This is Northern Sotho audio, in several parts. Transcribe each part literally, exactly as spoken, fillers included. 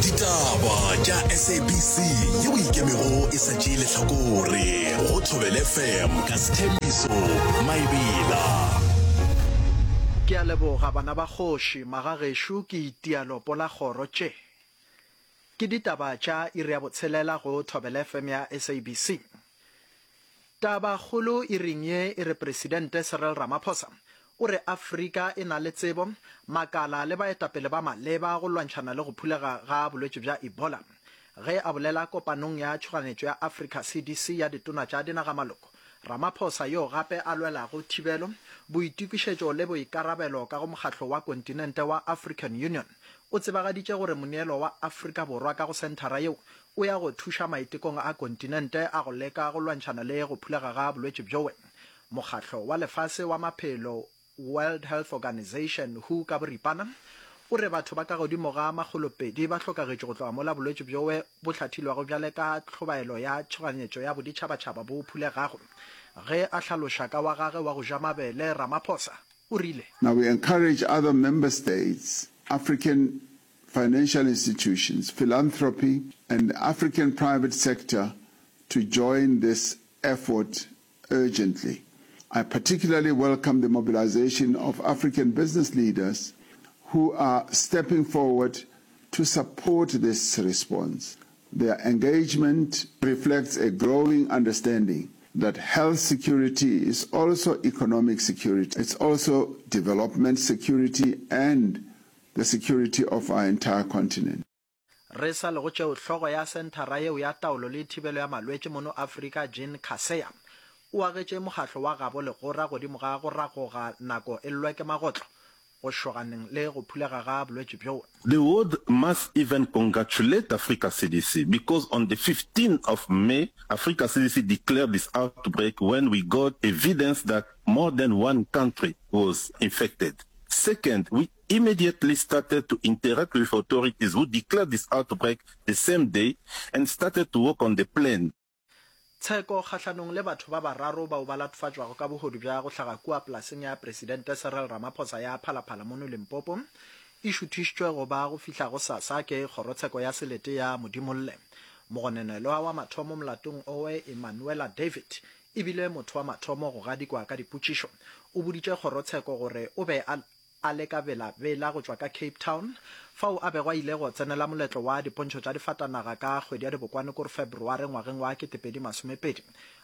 Ditaba tša S A B C yeo ikemego e sa tšee lehlakore go Thobela F M ka Sethembiso Maebela. Ke a leboga bana ba kgoši, magagešo ke itia lopo la kgoro tše. Ke ditaba tša iri ya botshelela go Thobela F M ya S A B C. Tabakgolo iring ye e re Presidente Cyril Ramaphosa o re Afrika e na le tsebo, makala le baetapele ba maleba go lwantšhana le go phulega ga bolwetši bja Ebola. Ge a bolela kopanong ya tšhoganetšo ya Africa C D C ya ditona tša dinagamaloko, Ramaphosa yo gape a lwelago thibelo, boitokišetšo le boikarabelo ka go mokgatlo wa kontinente wa African Union, o tsebagaditše gore moneelo wa Afrika Borwa ka go senthara yeo o ya go thuša maitekong a kontinente a go leka go lwantšhana le go phulega ga bolwetši bjowe. Mokgatlo wa Lefase wa Maphelo, World Health Organization, W H O ka boripana, o re batho ba ka godimo ga makgolopedi ba hlokagetše go tloga mola bolwetši bjowe bo hlathilwego bjale ka tlhobaelo ya tšhoganyetšo ya boditšhabatšhaba bo phulegago. Ge a hlaloša ka wa gage wa go ja mabele, Ramaphosa o rile: Now we encourage other member states, African financial institutions, philanthropy, and the African private sector to join this effort urgently. I particularly welcome the mobilization of African business leaders who are stepping forward to support this response. Their engagement reflects a growing understanding that health security is also economic security. It's also development security and the security of our entire continent. Re sa le go tšeo, hlogo ya senthara yeo ya taolo le thibelo ya malwetši mono Afrika, Jean Kaseya, o agetše mokgatlo wa gabo legora godimo ga go ragoga nako e llwe ke magotlo go šoganeng le go phulega ga bolwetši bjo. The world must even congratulate Africa C D C because on the fifteenth of May, Africa C D C declared this outbreak when we got evidence that more than one country was infected. Second, we immediately started to interact with authorities who declared this outbreak the same day and started to work on the plan. Tsheko kgahlanong le batho ba bararo bao ba latofatšwago ka bohodu bja go hlaga kua polaseng ya Presidente Cyril Ramaphosa ya Phalaphala mono Limpopo e šuthišitšwe go ba go fihla gosasa ke kgorotsheko ya selete ya Modimolle. Mogononelwa wa mathomo molatong owe, Emmanuela David, e bile motho wa mathomo go gadikwa ka dipotšišo. O boditše kgorotsheko gore o be a a le ka Bela-Bela go tšwa ka Cape Town, fao a bego a ile go tsenela moletlo wa dipontšho tša difatanaga ka kgwedi ya Dibokwane kore Febreware ngwageng wa ketepedi masomepedi.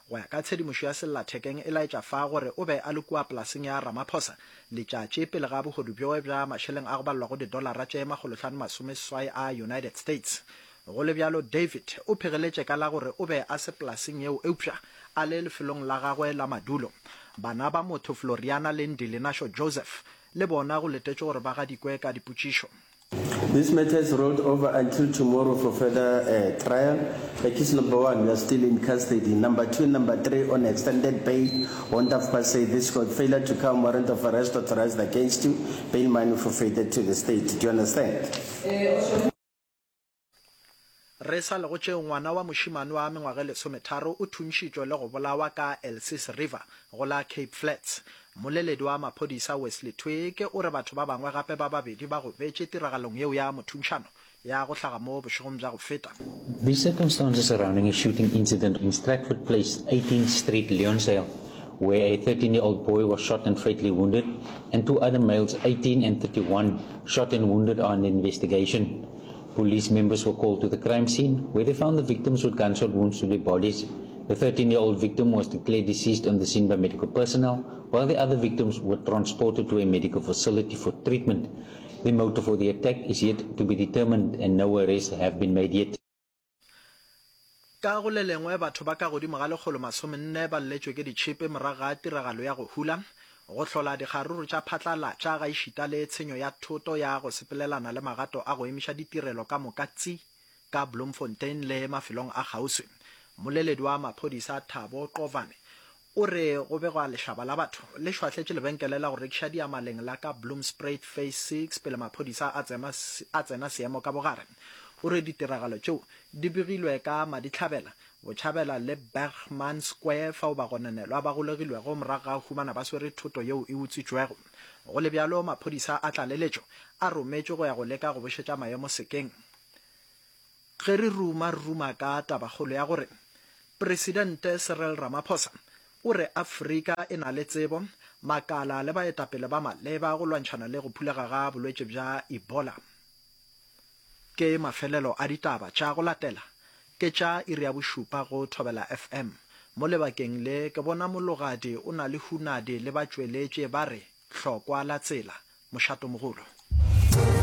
Go ya ka tshedimošo ya sellathekeng e laetša fa gore o be a le kua polaseng ya Ramaphosa letšatši pele ga bohodu bjoe bja mašeleng a go balelwago didolara tše makgolohlano masomeseswai a United States. Go le bjalo, David o phegeletše ka la gore o be a se polaseng yeo eupša a le lefelong la gagwe la madulo. Bana ba motho Floriana le Ndilinasho Joseph le bona go letetšwe gore ba gadikwe ka dipotšišo. This matter is rolled over until tomorrow for further uh, trial. Accused number one, you are still in custody. Number two and number three on extended bail. Want of per se this court failure to come, warrant of arrest authorized against you. Bail money forfeited to the state. Do you understand? Re sa le go tšeo, ngwana wa mošemane wa mengwaga e lesometharo o thuntšhitšwe le go bolawa ka Elsies River go la Cape Flats. Mmoleledi wa maphodisa Wesley Twigg o re batho ba bangwe gape ba babedi ba gobetše tiragalong yeo ya mothuntšhano ya go hlaga mo bošegong bja go feta. The circumstances surrounding a shooting incident in Stratford Place, eighteenth Street, Leonsdale, where a thirteen-year-old boy was shot and fatally wounded, and two other males, eighteen and thirty-one, shot and wounded, are under investigation. Police members were called to the crime scene, where they found the victims with gunshot wounds to their bodies. The thirteen-year-old victim was declared deceased on the scene by medical personnel, while the other victims were transported to a medical facility for treatment. The motive for the attack is yet to be determined and no arrests have been made yet. Ka go le lengwe, batho ba ka godimo ga lekgolo masomenne ba lletšwe ke ditšhipi morago ga tiragalo ya go hula, go hlola dikgaruru tša phatlalatša gaešita le tshenyo ya thoto ya go sepelelana le magato a go emiša ditirelo ka moka tsi ka Bloemfontein le mafelong a kgauswi. Mmoleledi wa maphodisa Thabo Qovane o re go begwa lešaba la batho le šwahletše lebenkele la go rekiša diamaleng la ka Bloemspruit Phase six pele maphodisa a tsena, a tsena seemo ka bogare. O re ditiragalo tšeo di begilwe ka Madihlabela, Botšhabela le Bergman Square fao bagononelwa ba golegilwego morago ga go humana ba swere thoto yeo e utswitšwego. Go le bjalo, maphodisa a tlaleletšo a rometšwe go ya go leka go bošetša maemo sekeng. Ge re ruma re ruma ka tabakgolo ya gore Presidente Cyril Ramaphosa o re Afrika e na le tsebo, makala le baetapele ba maleba go lwantšhana le go phulega ga bolwetši bja Ebola. Ke mafelelo a ditaba tša go latela ke tša iri ya bošupa go Thobela FM. Mo lebakeng le ke bona Mologadi o na le Hunadi le batšweletši ba re hlokwa la tsela. Mošatomogolo.